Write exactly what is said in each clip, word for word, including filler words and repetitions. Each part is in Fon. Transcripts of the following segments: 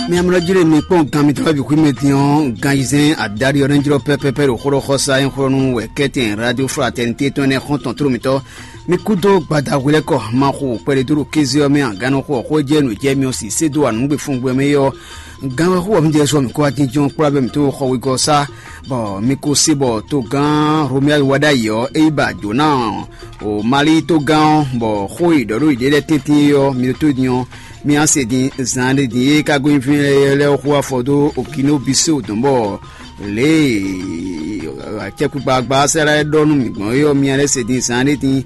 Mi amlɔ jí lé mi kpɔ́n gan mitɔn wɛ bǐ xwí mɛ din ɔ́, gan yizɛ́n adaɖi ɔ́ nɛ́ jlɔ́ pɛ́pɛ́pɛ́ ɖo xó ɖɔ xɔsa e xó nú wɛ kɛ́tɛn radio fraternité tɔn énɛ́ xɔ́ntɔn tló mitɔn. Mi kúdó gbada hwelɛ́kɔ ma xo kpɛɖé dó ɖo kéze ɔ́ mɛ a, gannɔxo ɔ́ xó e jɛ nǔ jɛ mi ɔ́ sì sé dó anǔgbefúngbɛ mɛ é ɔ́, gan wɛ xó ɔ́ mi jɛ sɔ mǐ kó wá jínjɔ́n kplá bɛ mǐ tó xɔ wegɔ́ ɔ́ sá, bɔ mi ko se bɔ togán Romuald wá ɖ'ayǐ ɔ́, é yi ba jǒ ná o Mali togán ɔ́, bɔ xó e è ɖɔ ɖó yěɖée lɛ́ɛ tɛ́ntin é ɔ́, mi ɖótó din ɔ́, mi wá se din zan ɖé din e ka gosín fínɛ́ lɛ́ɛ ɔ́ xo afɔ dó Okino Biseo dɔ̌n, bɔ lě e acɛkpikpa agbaxásá lɛ́ɛ ɖɔ nú mǐ gbɔn é ɔ́, mi wá lɛ́ se din zan ɖé din.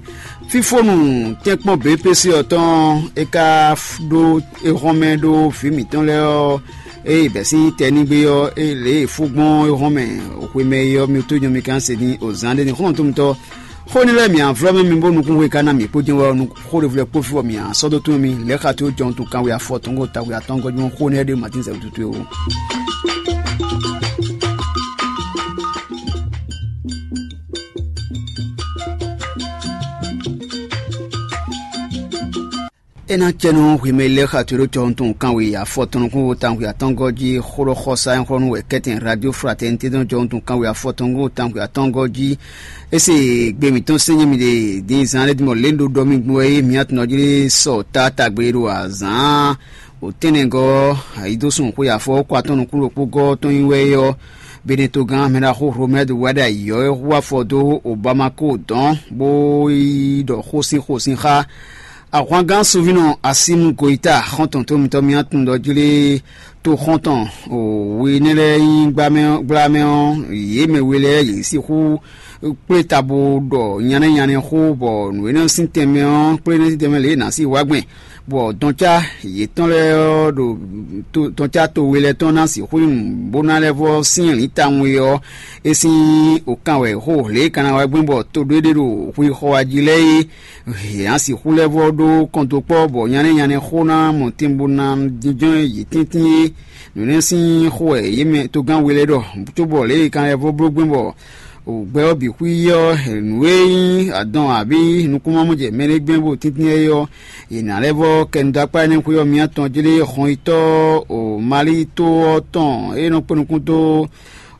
Fífónu tɛ́nkpɔ́n B P C ɔ́ tɔn é ka ɖó é hɔn mɛ ɖó vǐ mǐtɔn lɛ́ɛ ɔ́, ée bɛ̌ sín tɛnígbe ɔ́, é lě e fú gbɔn é hɔn mɛ xwemɛ é ɔ́, mi tó nyɔ mi ka se din o zan ɖé din xɔ́ntɔn mitɔn. Xó énɛ́ lɛ́ɛ mǐ a vlɔ́ mɛ mi bó nukúnxwe ka ná mǐ kpó jɛ́n wɛ ɔ́, xó ɖěvo lɛ́ɛ kpó fí bɔ mǐ a sɔ́ dó tún mì lɛ̌ xa tó jɔn tun kanwe afɔ tɔn gó tawe atɔngɔ́ jí xó énɛ́ ɖé Matín zɛ wútu towe ó. É ná cɛ nú hwemɛ lɛ́ɛ xa toɖó cɔ́ntɔn kanwe afɔtɔn nukún wo tawun atɔngɔ́ jí xó ɖɔ xɔsa e xlɔ́ nú wɛ kɛ́tɛn radio fraternité dɔn cɔ́ntɔn kanwe afɔtɔn nukún wo tawun atɔngɔ́ jí. É se gbe mǐtɔn sɛ́nyɛ mi ɖe din zan lɛ́ɛ din mɔ lě ɖo ɖɔ mi gbɔn é mǐ atɔn jí sɔ ta tagbe ɖo azǎn o tɛ́nnɛgɔ́ ayidósun xwe afɔ kɔ atɔn nukún ɖokpó gɔ́ tɔn nyi wɛ é ɔ́. Benetogán mɛɖaxó Romɛ́d wɛ ɖo ayǐ ɔ́ hu afɔ dó Obamako dɔn bó yi ɖɔ xó sín xó sín xá. Ahwangán Suvinɔ Asimu Goyita xɔ́ntɔn tó mitɔ́ mì atún ɖɔ jlé tó xɔ́ntɔn wi énɛ́ lɛ́ɛ nyí gblamɛ ɔ́, yě mɛ we lɛ́ɛ yě sixú kplé ta bo ɖɔ nyanɛ́ nyanɛ́ xó, bɔ nǔ énɛ́ sín tɛnmɛ ɔ́, kplé énɛ́ sín tɛnmɛ lě e nǎ sí wá gbɛn, bɔ dɔncá yětɔn lɛ́ɛ ɔ́ ɖo dɔncá to we lɛ́ɛ tɔn ná sixú nyí nǔ bó ná lɛ́ vɔ́ syɛ́nlǐn tawun e ɔ́, é sín okan wɛ xó lě e ka ná wá gbɛn bɔ to ɖé ɖé ɖo hwixɔ wá jí lɛ́ɛ é. Yě ná sixú lɛ́ vɔ́ ɖó kɔntokpɔ́, bɔ nyanɛ́ nyanɛ́ xó ná mɔ tin bó ná jínjɔ́n yě tɛ́ntin é. Nǔ énɛ́ sín xó wɛ yě mɛ togán we lɛ́ɛ ɖɔ, cóbɔ lě e kan lɛ́ vɔ́ bló gbɛn bɔ gbɛ ɔ́ bǐ xwí ɔ́, nǔ e nyí adɔn abǐ nukúnmamɔjɛ mɛ ɖé gbɛn bó tíntín é ɔ́, yě ná lɛ́ vɔ́ kɛ nu dó akpá énɛ́ xwé ɔ́ mǐ atɔn jlé hɔnyitɔ́ o Mali tó ɔ́ tɔn e nɔ kpé nukún dó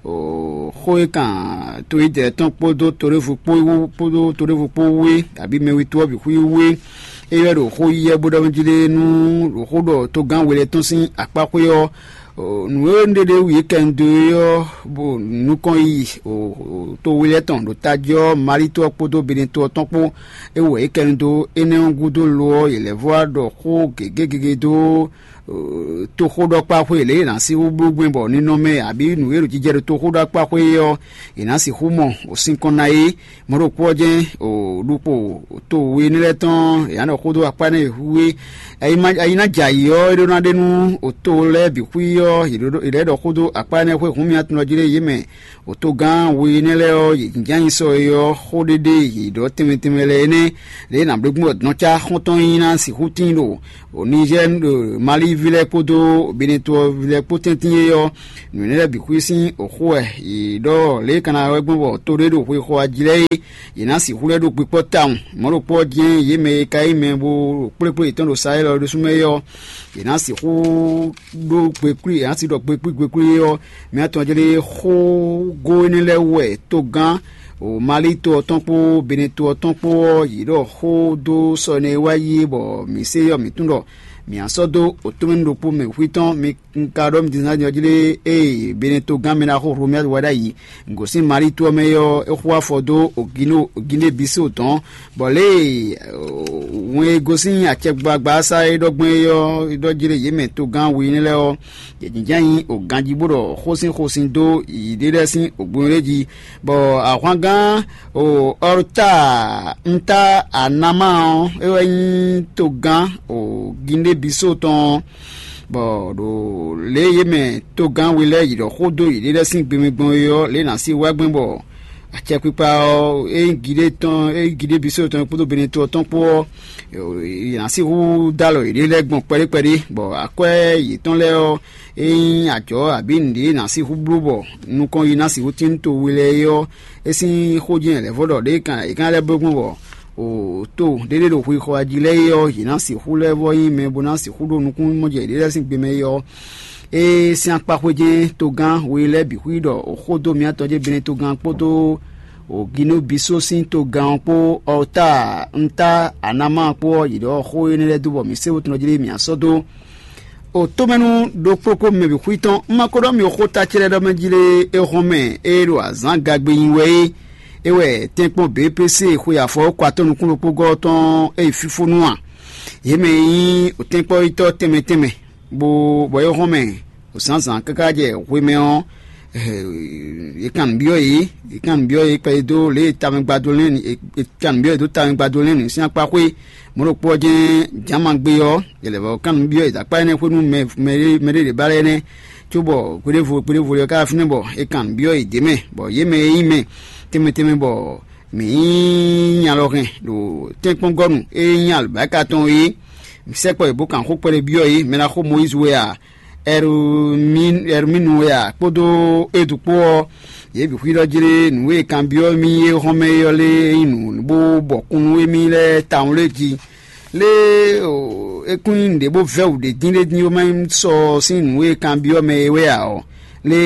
xó e kan to yi jɛ tɔn kpódó toɖévu kpó wú kpódó toɖévu kpó wú é, abǐ mɛwitu ɔ́ bǐ xwí wú é. É wɛ ɖo xó yíyɛ́ bó ɖɔ mɛ jí ɖe nú ɖo xó ɖɔ togán we lɛ́ɛ tɔn sín akpá xwé ɔ́, nǔ e un ɖe ɖ'é wú yě kɛ un dó é ɔ́, bó nukɔn yi to we lɛ́ɛ tɔn ɖo tají ɔ́, Mali to ɔ́ kpódó Benɛto ɔ́ tɔn kpó. É wɛ yě kɛ un dó énɛ́ ɔ́ gúdo lo ɔ́, yě lɛ́ vɔ́ wá ɖɔ xó gěgé gěgé dó toxóɖɔkpáxwé lě e è nǎ sixú bló gbɛn bɔ ninɔmɛ abǐ nǔ e ɖo jijɛ ɖo toxóɖɔkpáxwé é ɔ́, è nǎ sixú mɔ sinkɔn ná é. Mɔ̌ ɖokpó ɔ́ jɛ́n ɖukpo to we énɛ́ lɛ́ɛ tɔn è nǎ ɖɔ xó dó akpá énɛ́ e hu é. Ayi ná jɛ ayǐ ɔ́, é ɖó ná ɖe nú to lɛ́ɛ bǐ xwí ɔ́, è lɛ́ ɖɔ xó dó akpá énɛ́ xwé hǔn mì atún ɔ́ jí lé yě mɛ. Otogán we énɛ́ lɛ́ɛ ɔ́, yě jínjɔ́n nyi sɔ e ɔ́, xó ɖéɖé yě ɖɔ tɛnmɛ tɛnmɛ lɛ́ɛ énɛ́, lě e nǎ bló gbɔn dɔn cá xɔ́ntɔn nyi ná sixú tíin ɖo Nizɛ́ɛ, Mali ví lɛ́ɛ kpódó Benɛto ví lɛ́ɛ kpó tɛ́ntin é ɔ́, nǔ énɛ́ lɛ́ɛ bǐ xwí sín xó wɛ yě ɖɔ lě e ka ná wɛ gbɔn bɔ to ɖé ɖo xwexɔ ají lɛ́ɛ é, yě ná sixú lɛ́ ɖo kpikpɔ́ tawun. Mɔ̌ ɖokpó ɔ́ jɛ́n yě mɛ e ka nyí mɛ bó ɖo kplékplé yětɔn ɖo Sayɛ́li ɔ́ ɖésú mɛ é ɔ́, yě ná sixú ɖó gbekwí, yě ná si ɖɔ gbekwí gbekwí é ɔ́, mǐ atɔn jlé xógó énɛ́ lɛ́ɛ wú wɛ togán o Mali to ɔ́ tɔn kpó Benɛto ɔ́ tɔn kpó ɔ́, yě ɖɔ xó dó sɔ énɛ́ e wá yi é, bɔ mǐ se ɔ́, mǐ tunwun ɖɔ mǐ a sɔ́ dó otɔ́mɛnu ɖokpó mɛ hwí tɔn. Mi un ka ɖɔ mi din ná jlé ée Benɛto gán mɛ ná xó Hlomyádu wá ɖ'ayǐ gosín Mali to ɔ́ mɛ é ɔ́, é xo afɔ dó Ogino Oginde Biso tɔn, bɔ lě e wɛn e gosín acɛgbagba sá é ɖɔ gbɔn é ɔ́, é ɖɔ jlé yě mɛ togán we énɛ́ lɛ́ɛ ɔ́, yě jínjɔ́n nyi o ganjí bó ɖɔ xósin xósin dó yěɖée lɛ́ɛ sín ogbonyo ɖé jí, bɔ ahwangán o Ɔrta nta Anama ɔ́, é wɛ nyí togán o Ginde Biso tɔn ɔ́, bɔ ɖo lě e yě mɛ togán we lɛ́ɛ yi ɖɔ xó dó yěɖée lɛ́ɛ sín gbe mɛ gbɔn é ɔ́, lě e è nǎ sí wá gbɛn bɔ acɛkpikpa ɔ́, é nyí Gide tɔn, é nyí Gide Biso tɔn kpódó Benɛto ɔ́ tɔn kpó ɔ́, è nǎ sixú dó alɔ yěɖée lɛ́ɛ gbɔn kpɛɖé kpɛɖé, bɔ akwɛ́ yětɔn lɛ́ɛ ɔ́, é nyí ajɔ̌ abǐ nǔɖé ná sixú bló bɔ nukɔn yi ná sixú tín to we lɛ́ɛ é ɔ́, é sín xó jɛ́n lɛ̌vɔ́ ɖɔ ɖě kan è ka lɛ́ bló gbɔn bɔ O to ɖéɖé ɖo xwixɔ jí lɛ́ɛ é ɔ́, yě ná sixú lɛ́ vɔ́ nyí mɛ bó ná sixú ɖó nukúnnú mɔjɛ yěɖée lɛ́ɛ sín gbe mɛ é ɔ́, é sín akpá xwé jɛ́n togán we lɛ́ɛ bǐ xwí ɖɔ xó dó mǐtɔn jɛ́n Benɛtogán kpódó Ginobisó sín togán ɔ́ kpó Ɔta Nta Anama kpó ɔ́, yě ɖɔ xó énɛ́ lɛ́ɛ dó bɔ mǐ sé wútu nɔ jlé mǐ sɔ́ dó. O tómɛnú ɖokpó kpó mɛ bǐ xwí tɔn, un ma ko ɖɔ mì xó ta ce lɛ́ɛ ɖɔ mɛ jí lé é hɔn mɛ é ɖo azǎn gagbe nyi wɛ é. É wɛ tɛ́nkpɔ́n B P C xwe afɔwɔ́kɔ atɔ́ nukún ɖokpógɔ́ ɔ́ tɔn é yi fífónú a? Yě mɛ e nyí tɛ́nkpɔ́yítɔ́ tɛnmɛ tɛnmɛ, bó bɔ é hɔn mɛ zǎnzǎn káká jɛ hwemɛ ɔ́, è kan nǔ byɔ́ yě, è kan nǔ byɔ́ yě kpɛɖé dó lě e tawɛngbadó lɛ́n è kan nǔ byɔ́ yě dó tawɛngbadó lɛ́n nǔ sín akpá xwé. Mɔ̌ ɖokpó ɔ́ jɛ́n jǎn ma gbé ɔ́, è lɛ̌ vɔ kan nǔ byɔ́ yě dó akpá énɛ́ xwé nú mɛ mɛ ɖé mɛ ɖé ɖě ba lɛ́ɛ nɛ́, cóbɔ hweɖévo hweɖévo ɔ́ ká fínɛ́ bɔ è kan nǔ byɔ́ yě d'é mɛ, bɔ yě mɛ e nyí mɛ tɛnmɛ tɛnmɛ bɔ mǐ nyí nyalɔhɛn ɖo tɛ́nkpɔ́ngɔ́nu e nyí alɔ̌báka tɔn é. Mǐ sɛkpɔ́ yě bó kan xó kpɛɖé byɔ́ yě, mɛ ná xo Mɔyízi wɛ a, Ɛrumínu wɛ a, kpódó Edu kpó ɔ́, yě bǐ xwíɖɔ jlé nǔ e kanbyɔ́ mì é hɔn mɛ é ɔ́ lé é nyí nǔ bó bɔkun nú émí lɛ́ɛ tawun lé jí. Lé é kún nyí nǔɖé bó vɛ́ wǔ ɖé dín ɖé dín bó má nyí sɔ sín nǔ e kanbyɔ́ mɛ é wɛ ǎ ɔ́, lé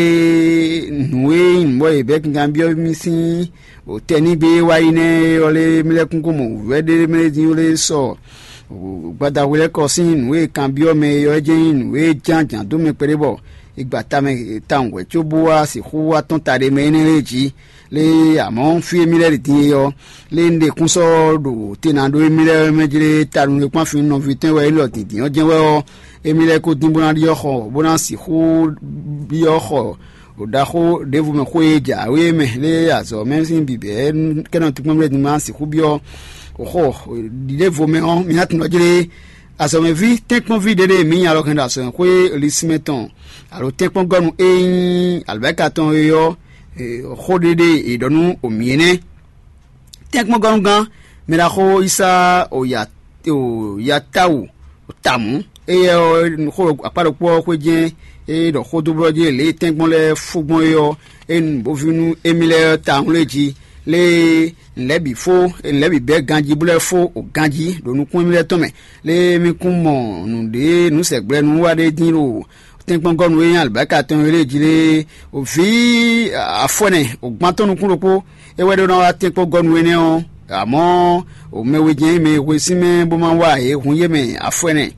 nǔ e nyí nǔ bɔ yě bɛ́ kanbyɔ́ mì sín tɛnígbe e wá yi nɛ́ é ɔ́ lé mì lɛ́ kún kó mɔ wǔvɛ́ ɖé mɛ dín lé sɔ gbadahwe lɛ́ɛ kɔ sín nǔ e kanbyɔ́ mɛ é ɔ́ jɛ́n nyí nǔ e ján jǎn dó mɛ kpɛɖé bɔ è gba tamɛ tawun wɛ có bó wá sixú wá tɔ́n ta ɖé mɛ énɛ́ lɛ́ɛ jí. Lé amɔ̌ fí e mì lɛ́ ɖi din é ɔ́, lé un ɖe kún sɔ́ ɖo te ná ɖó émí lɛ́ɛ mɛ jlé tanu e kpán fin nɔví tɔn wɛ élɔ́ dǐndín ɔ́ jɛ́n wɛ ɔ́, émí lɛ́ɛ ko dín bó ná ɖyɔ́ xɔ bó ná sixú ɖyɔ́ xɔ ɖaxó ɖěvo mɛ xó e jǎwe mɛ lé azɔ̌ mɛ sín bǐbɛ́ kɛ́nɔ tukpɔ́n lɛ́ɛ din ma sixú byɔ́ xɔ ɖěvo mɛ ɔ́, mi ná tunwun ɖɔ jlé azɔ̌mɛví tɛ́nkpɔ́nví ɖé ɖé mǐ nya lɔ hɛn ɖo azɔ̌mɛxwé lisínmɛ tɔn alo tɛ́nkpɔ́ngɔ́nu e nyí alɔ̌bɛ́ka tɔn é ɔ́, xó ɖé ɖé è ɖɔ nú mǐ é nɛ́. Tɛ́nkpɔ́ngɔ́nugán mɛɖaxó Yísá Yatawu Tamǔ, éyɛ́ ɔ́, xó akpá ɖokpó ɔ́ xwé jɛ́n é ɖɔ xó dó blɔ́ jí lě e tɛ́nkpɔ́n lɛ́ɛ fó gbɔn é ɔ́, é nu bó ví nú émí lɛ́ɛ tawun lé jí. Lé e nǔ lɛ́ɛ bǐ fó, nǔ lɛ́ɛ bǐ bɛ́ ganjí bó lɛ́ fó o ganjí ɖo nukún émí lɛ́ɛ tɔn mɛ. Lé e mì kún mɔ nǔɖé nǔ sɛgbla nú wa ɖé dín ɖo tɛ́nkpɔ́ngɔ́nu e nyí alibáka tɔn e lé jí lé, vǐ afɔɛnɛ, o gbantɔ́ nukún ɖokpó, é wɛ ɖó ná wá tɛ́nkpɔ́ngɔ́nu énɛ́ ɔ́, amɔ̌ o mɛ we jɛ́n mɛ e hwe sín mɛ bó má wa yě hun yé mɛ afɔɛnɛ.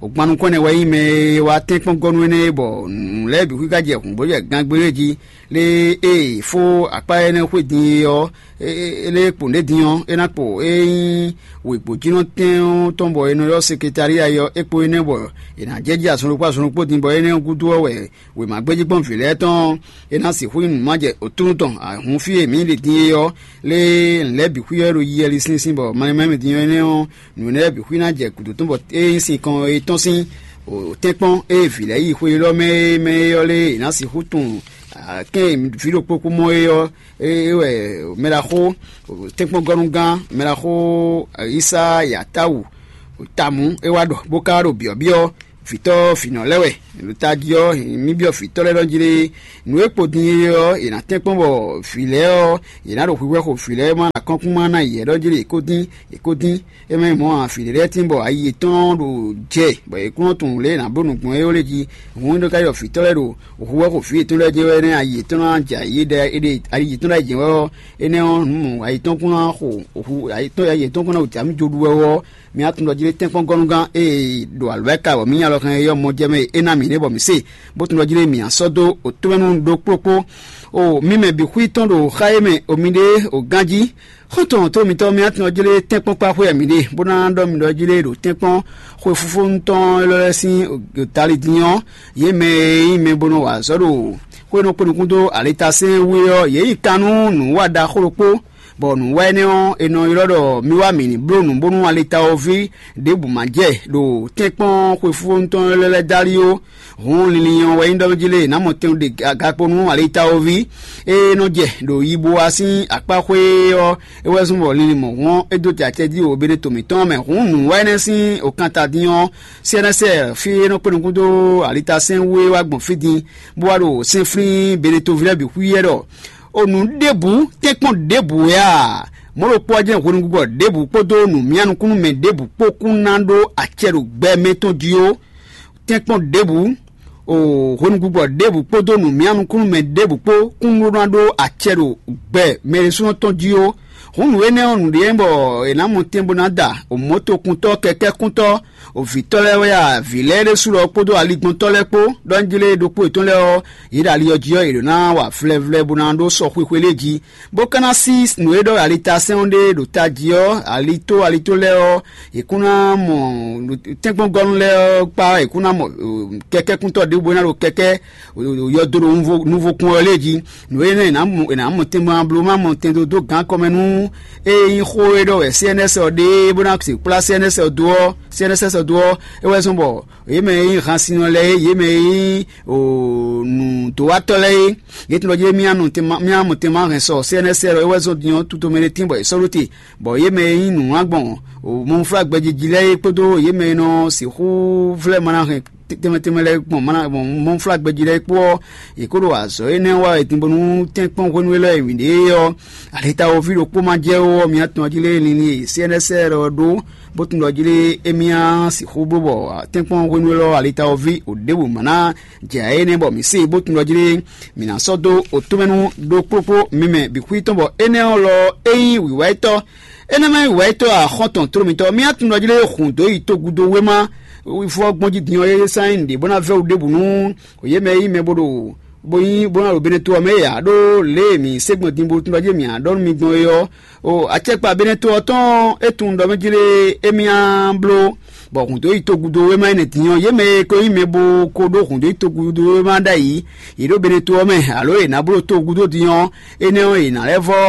O gban nukɔn ɛnɛ wɛ nyí mɛ e wá tɛ́nkpɔ́ngɔ́nu énɛ́ é, bɔ nǔ lɛ́ɛ bǐ xwíká jɛ hǔnbó jɛ gangbé lɛ́ɛ jí. Lé e fó akpá énɛ́ xwé din é ɔ́, é lé kpo nǔɖé din ɔ́, é ná kpo é nyí wěgbójínɔtɛn ɔ́ tɔn bɔ è nɔ ylɔ́ sekretália é ɔ́, é kpo énɛ́ bɔ è nǎ jɛ jí azɔn ɖokpó azɔn ɖokpó din, bɔ énɛ́ ɔ́ gúdo ɔ́ wɛ wěmagbéjígbɔ́n vǐ lɛ́ɛ tɔn é ná sixú nyí nǔ ma jɛ òtúnu tɔn. Ahun fí e mǐ ɖe din é ɔ́, lé nǔ lɛ́ɛ bǐ xwí ɔ́ ɖo yiyi ɛli sínsín bɔ malɛ́nmɛ́ din ɔ́ énɛ́ ɔ́, nǔ énɛ́ lɛ́ɛ bǐ xwí ná jɛ gǔdo tɔn bɔ é nyí sinkɔn e tɔ́n sín tɛ́nkpɔ́n e vǐ lɛ́ɛ yi xwe élɔ́ mɛ é mɛ é ɔ́ lé è nǎ sixú tunwun kɛ́n e vǐ ɖokpó kú mɔ é ɔ́, é wɛ mɛɖaxó tɛ́nkpɔ́ngɔ́nugán mɛɖaxó Yísá Yatáwu tamú é wá ɖɔ bó ka ɖo byɔ̌byɔ́ vǐtɔ́ vǐnɔ lɛ́ɛ wɛ. Ɖo tají ɔ́, mǐ byɔ́ vǐtɔ́ lɛ́ɛ nɔ jlé nǔ e kpo din é ɔ́, è nǎ tɛ́nkpɔ́n bɔ vǐ lɛ́ɛ ɔ́, è nǎ ɖo hwihwɛ́ xo vǐ lɛ́ɛ má ɖo akɔ́nkúnma ná yě ɖɔ jlé è ko dín, è ko dín. É mɛ mɔ̌ ǎ, vǐ ɖé lɛ́ɛ tín bɔ ayi yětɔn ɖo jɛ, bɔ è kún nɔ tunwun lě e è nǎ bló nǔ gbɔn é ó lé jí. Hǔn é nɔ ka ɖɔ vǐtɔ́ lɛ́ɛ ɖo hwihwɛ́ xo vǐ yětɔn lɛ́ɛ jɛ́n wɛ nɛ́ ayi yětɔn ná jɛ ayi ɖɛ ayi yětɔn ná jɛ wɛ ɔ́, énɛ́ ɔ́, nǔ mɔ̌ ayi tɔn kún ná xo ayi tɔn ayi yětɔn kún ná wǔ jǎ mì jó ɖu wɛ ɔ́, mi wá tunwun ɖɔ jí lé tɛ́nkpɔ́ngɔ́nugán e ɖo alɔ̌ wɛ ka wɔ mǐ nya lɔ hɛn é ɔ́ mɔ jɛ mɛ e é ná mǐ nɛ́ bɔ mǐ se, bó tunwun ɖɔ jí lé mǐ ná sɔ́ dó òtúmɛnu ɖokpó kpó. O mì mɛ bǐ xwí tɔn ɖo xá e mɛ o mi ɖe o gán jí. Xɔ́ntɔn tó mitɔn mi wá tunwun ɖɔ jí lé tɛ́nkpɔ́n kpá xwé wɛ mǐ ɖe, bó ná ɖɔ mǐ ɖɔ jí lé ɖo tɛ́nkpɔ́n xwe fúfónu tɔn élɔ́ lɛ́ɛ sín tali din ɔ́, yě mɛ e nyí mɛ bó nɔ wa azɔ̌ ɖo xwé nɔ kpé nukún dó alitasɛ́n wú é ɔ́, yě yi kan nú nǔwa ɖaxó ɖokpó. Bɔ nǔwa énɛ́ ɔ́, è nɔ ylɔ́ ɖɔ mi wá mǐ ní bló nǔ bónú alitawoví ɖěbǔ ma jɛ ɖo tɛ́nkpɔ́n xwefúfónu tɔn lɛ́ɛ lɛ́ɛ dali ó. Hǔn linlin ɔ́ wɛ nyí ɖɔ jí lé è nǎ mɔ tɛn ɖe gakpo nú alitawoví e nɔ jɛ ɖo yibowa sín akpá xwé ɔ́, é wɛ zɔ́n bɔ linlin mɔ̌hun ɔ́, é dó jɛ acɛ jí o bene to mǐtɔn mɛ. Hǔn nǔwa énɛ́ sín òkanta dín ɔ́, sɛ́nɛsɛ fí e nɔ kpé nukún dó alitasɛ́n wú é wá gbɔn fí din, bó wá ɖo sɛ́nflín bene toví lɛ́ɛ bǐ xwíyɛ́ ɖɔ o nǔ ɖěbǔ tɛ́nkpɔ́n ɖěbǔ wɛ a? mɔ̌ ɖokpó ɔ́ jɛ́n hwenugúgbɔ ɖěbǔ kpódó nǔmyánukúnnú mɛ ɖěbǔ kpó kún ná ɖó acɛ ɖo gbɛ mɛ tɔn jí ó. Tɛ́nkpɔ́n ɖěbǔ, o hwenugúgbɔ ɖěbǔ kpódó nǔmyánukúnnú mɛ ɖěbǔ kpó kún ɖó ná ɖó acɛ ɖo gbɛ mɛ ɖésúnɔ tɔn jí ó. Hǔn nǔ énɛ́ ɔ́, nǔɖé nyí bɔ è nǎ mɔ tɛn bó ná da mɔ̌tokuntɔ́, kɛkɛ́kuntɔ́, vǐtɔ́ lɛ́ɛ wɛ a, vǐ lɛ́ɛ ɖésú lɔ kpódó aligbɔntɔ́ lɛ́ɛ kpó, ɖɔ njí lé ɖokpó yětɔn lɛ́ɛ ɔ́, yě ɖo ali ɔ́ jí ɔ́, yě ɖǒ ná wa vlɛvlɛ bó ná ɖó sɔ xwixwe lɛ́ɛ jí, bó ka ná sí nǔ e ɖɔ alitásɛ́n ɔ́ ɖe ɖo tají ɔ́, alitó alitó lɛ́ɛ ɔ́, è kún ná mɔ tɛ́nkpɔ́ngɔ́nú lɛ́ɛ ɔ́ kpá, è kún ná mɔ kɛkɛ́kúntɔ́ ɖěbǔ e ná ɖo kɛkɛ́ yɔdo ɖo nuvokún ɔ́ lɛ́ɛ jí. Nǔ énɛ́ è nǎ mɔ tɛn ma bló ma mɔ tɛn dó dó gǎn kɔmɛ nú ée nyí xó e ɖɔ wɛ C N S ɔ́ ɖe bó ná se kplá C N S ɔ́ dó ɔ́, C N S S ɔ́ dó ɔ́, é wɛ zɔ́n bɔ yě mɛ e nyí hansinɔ lɛ́ɛ é, yě mɛ e nyí nǔdowatɔ́ lɛ́ɛ é, yě tunwun ɖɔ jí mía nɔ tɛnmɛ mía mɔ tɛnmɛ hɛn sɔ C N S L é wɛ zɔ́n din ɔ́ tutomɛ ɖé tín bɔ è sɔ́ ɖó te, bɔ yě mɛ e nyí nǔwlán gbɔn mɔnflágbɛjiji lɛ́ɛ é kpódó yě mɛ e nɔ sixú vlɛ́ mana hɛn tɛnmɛ tɛnmɛ lɛ́ɛ gbɔn mana gbɔn mɔnflágbɛji lɛ́ɛ é kpó ɔ́, yě kó ɖo azɔ̌ énɛ́ wa wɛ din bónú tɛ́nkpɔ́n hwenu élɔ́ e mǐ ɖe é ɔ́, alitawoví ɖokpó ma jɛ ó ɔ́, mía tɔn jí lé linlin e C N S L ɔ́ ɖó, bó tunwun ɖɔ jí lé émí á sixú bló bɔ tɛ́nkpɔ́n hwenu élɔ́ alitawoví ò ɖěbǔ ma ná jɛ ayé nɛ́ bɔ mǐ se bó tunwun ɖɔ jí lé mǐ ná sɔ́ dó otúmɛnu ɖokpókpó mi mɛ bǐ xwí tɔn bɔ énɛ́ ɔ́ lɔ é nyí wǐwá yětɔn. Énɛ́ ma nyí wǐwá yětɔn axɔ́ntɔn tló mitɔn. Mì á tunwun ɖɔ jí lé xun dǒ yi togudo wéma vɔ gbɔn jí din ɔ́, é sán nyí nǔɖé bó ná vɛ́ wú ɖěbǔ nú yě mɛ e nyí mɛ bó ɖo bó nyí bó ná ɖo Beneto ɔ́ mɛ é ǎ, ɖó lě e mǐ se gbɔn din bó tunwun ɖɔ jí mǐ á ɖɔ nú mi gbɔn é ɔ́, o acɛkpa Beneto ɔ́ tɔn é tunwun ɖɔ mɛ jí lé émí á bló bɔ hǔn dó yi togudo wéma énɛ́ din ɔ́, yě mɛ e ko nyí mɛ bó ko ɖó hǔn dó yi togudo wéma ɖ'ayǐ, yě ɖo Beneto ɔ́ mɛ, alo è nǎ bló togudo din ɔ́, énɛ́ ɔ́, è nǎ lɛ́ vɔ́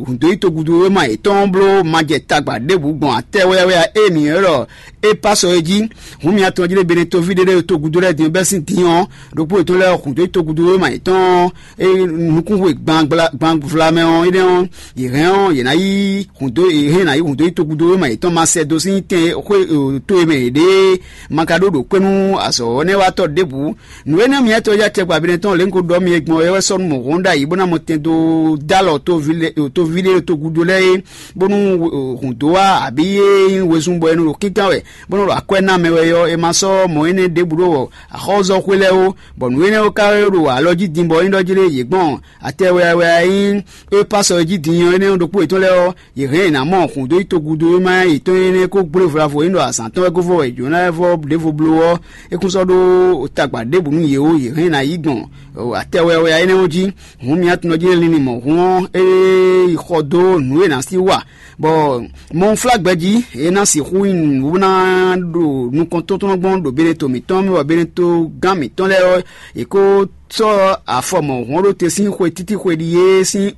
hǔn dó yi togudo wéma yětɔn bló ma jɛ tagba ɖěbǔ gbɔn atɛ wɛ́yáwɛ́yá e mǐ ylɔ́ ɖɔ Epasɔ é jí. Hǔn mi atɔn jí lé Beneto ví ɖé lɛ́ɛ togudo lɛ́ɛ din ɔ́ bɛ́ sín din ɔ́, ɖokpó yětɔn lɛ́ɛ hǔn dó yi togudo wéma yětɔn ɔ́, nukúnxwe gbanvlamɛ ɔ́, énɛ́ ɔ́, yě hɛn ɔ́, yě ná yí hǔn dó yě hɛn ná yí hǔn dó yi togudo wéma yětɔn ma sɛ dó sín tɛn xwé to e mɛ yě ɖe ma ka ɖó ɖo kpé nú azɔ̌ ɔ́ nɛ́ wá tɔ́ ɖěbǔ. Nǔ énɛ́ miɛ́tɔ́ yá tɛgbɛ abinɛ tɔn lě un ko ɖɔ mi e gbɔn é wɛ sɔ́ nú mɔ̌ hɔn ɖ'ayǐ bó ná mɔ tɛn dó dó alɔ toví ɖé togudo lɛ́ɛ é, bónú hǔn dó wá abǐ é nyí wezun bɔ è nɔ ɖo kínkán wɛ bó nɔ ɖo akwɛ́ ná mɛ wɛ ɔ́, è ma sɔ́ mɔ̌ énɛ́ ɖěbǔ ɖo axɔ́zɔ́xwé lɛ́ɛ ó, bɔ nǔ énɛ́ ɔ́ ka ɖo alɔ jí din bɔ é nyí ɖɔ jí lé yě gbɔn atɛ wɛwɛ e nyí Epasɔ jí din ɔ́ énɛ́ ɔ́ ɖokpó yětɔn lɛ́ɛ ɔ́, yě hɛn yě ná mɔ hǔn dó yi togudo e ma yětɔn énɛ́ kó gblé vla vo é ɖɔ azǎn tɔn wɛ gó vɔ wɛ jǒ ná vɔ ɖěvo bló ɔ́, é kún sɔ́ ɖó tagba ɖěbǔ nú yě ó, yě hɛn yě ná yi gbɔn atɛ wɛwɛ énɛ́ ɔ́ jí. Hǔn mi atúnɔ jí linlin mɔ̌ hún ɔ́, é yi xɔ dó nǔ e è nǎ sí wa, bɔ mɔnflágbɛjí é ná sixú nyí nǔ ná ɖo nukɔn tótɔ́nɔ gbɔn ɖo Beneto mǐtɔn mɛ, bɔ Beneto gán mǐtɔn lɛ́ɛ ɔ́, è kó sɔ́ afɔ mɔ̌hɔn ɖó te sín xwe títí xwe ɖíe sín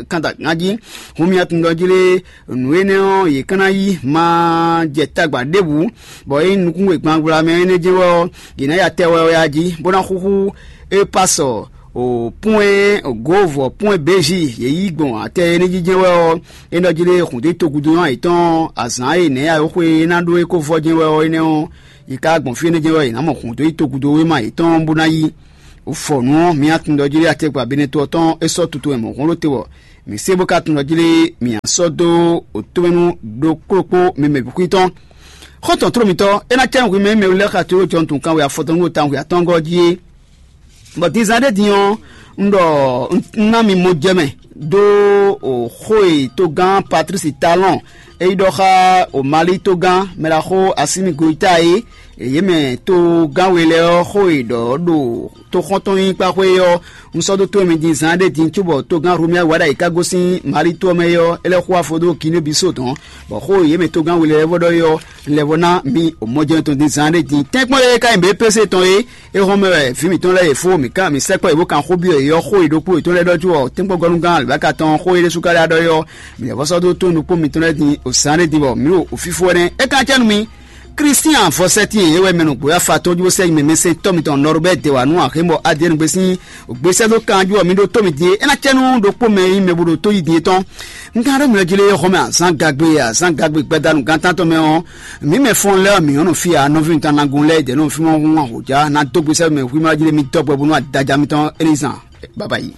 kanda ganjí. Hun mi atundɔ jí lé nǔ énɛ́ ɔ́, yě ká ná yí ma jɛ tagba ɖěbǔ, bɔ é nyí nukúnwe gbangbla mɛ énɛ́ jɛ́n wɛ ɔ́, yě ná ya tɛ wɛwɛ jí, bó ná xúxú Epasɔ o pɔ́n e gǒvɔ pɔ́n e bějí yě yí gbɔn atɛ énɛ́ jí jɛ́n wɛ ɔ́, é nɔ jí lé hǔn dó yi togudo ɔ́ yětɔn azǎn e nɛ̌ ayɔ́xwe e ná ɖó é kó vɔ jɛ́n wɛ ɔ́ énɛ́ ɔ́, yě ká gbɔn fí énɛ́ jɛ́n wɛ yě ná mɔ hǔn dó yi togudo wéma yětɔn bó ná yí. Fɔ nǔ ɔ́, mi atundɔ jí lé atɛgbà Beneto ɔ́ tɔn é sɔ́ tutu wɛ mɔ̌ hɔn ɖó te wɔ. Mǐ se bó ka tunɔ jí lé mǐ sɔ́ dó otɔ́mɛnu ɖokplókpó mi mɛ bǐ xwí tɔn. Xɔ́ntɔn tló mitɔn, é ná cɛ́ nú hwi mɛ e mɛ wú lɛ́ɛ xa tlóló jɔnutun kanwe afɔtɔn nú tawun xwe atɔ́ɔ́ngɔ́ jí é. Bɔ din zán ɖé din ɔ́, un ɖɔ un ná mi mɔ jɛ mɛ dó xó e togán Patlísi Talɔn e yi ɖɔ xá o Mali togán mɛɖaxó Asími Goyita é, yě mɛ togán we lɛ́ɛ ɔ́ xó e ɖɔ ɖo toxɔ́ntɔn nyíkpá xwé é ɔ́, un sɔ́ dó tó mi din zán ɖé din cóbɔ togán Hlomia wá ɖ'ayǐ ká gosín Mali tó ɔ́ mɛ é ɔ́, é lɛ́ xo afɔ dó Kiné Bisó tɔn, bɔ xó e yě mɛ togán we lɛ́ɛ vɔ ɖɔ é ɔ́, un lɛ́ vɔ ná mi o mɔjɛ́nú tɔn din zán ɖé din. Tɛ́nkpɔ́n e ka nyi bě Pese tɔn é, é hɔn mɛ wɛ vǐ mǐtɔn lɛ́ɛ yě fó mǐ kan mǐ sɛkpɔ́ yě bó kan xó byɔ́ yě ɔ́ xó e ɖokpó yětɔn lɛ́ɛ ɖɔ jú ɔ tɛ́nkpɔ́ngɔ́núgán alǒbáka tɔn xó e ɖésú ka lɛ́ ɖɔ é ɔ́, mǐ lɛ́ vɔ sɔ́ dó tó nukpó mitɔn lɛ́ɛ din o zán ɖé din bɔ mǐ ɖo o fífó ɛnɛ́. É ka cɛ́ nú mi. Kristian vɔsɛ́tin e wɛ mɛ nɔ gbǒ afa tɔn jú bó sɛ́ nyi mɛ mɛsɛntɔ́ mitɔn Nɔrubɛ́ de wǎ nú axémɔ Adiyɛ́ɛn gbe sín gbesɛ́dó kanjú ɔ́, mi ɖó tó mi din é ná cɛ nú ɖokpó mɛ e nyí mɛ bo ɖo tó yi din é tɔn. Un ka ɖɔ mi lɔ jí lé xɔmɛ azán gagbe azán gagbe gbadanu gantán tɔn mɛ ɔ́, mǐ mɛ fɔ́n lɛ́ɛ ɔ́, mǐ nyɔ́ nɔ fí ǎ. Nɔví mitɔn anagun lɛ́ɛ dɛ̌ nɔ fí mɔ hún ahǒjá ná dó gbesɛ́dó mɛ hwímá jí lé mi dɔ́ bɔ bónú adaja mitɔn é ní zan. Baba yi.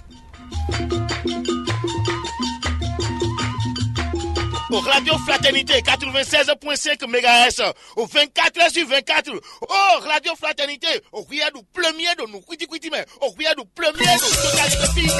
Au Radio Fraternité quatre-vingt-seize point cinq mégahertz, au vingt-quatre heures sur vingt-quatre. Oh, Radio Fraternité, au Riyadou premier de nous, Kwiti Kwiti, mais au Riyadou premier de Total Fille.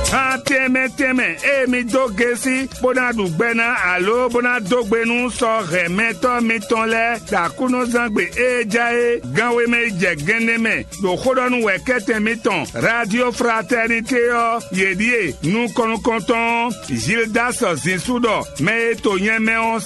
Atɛmɛ tɛmɛ, emi dó gesi, bó ná ɖu gbɛ ná alo bó ná dó gbe nú sɔ hɛmɛtɔ́ mitɔn lɛ́ɛ, ɖo Aklúnɔzán gbe e ja é, gan wemɛ yi jɛ gɛnɖé mɛ, ɖo xó ɖɔ nú wɛ̌kɛ́tɛn mitɔn, Radio Fraternité ɔ́, yě ɖíe nukɔn nukɔntɔn, Gildas Zinsú ɖɔ mɛ e to nyɛ mɛ ɔ́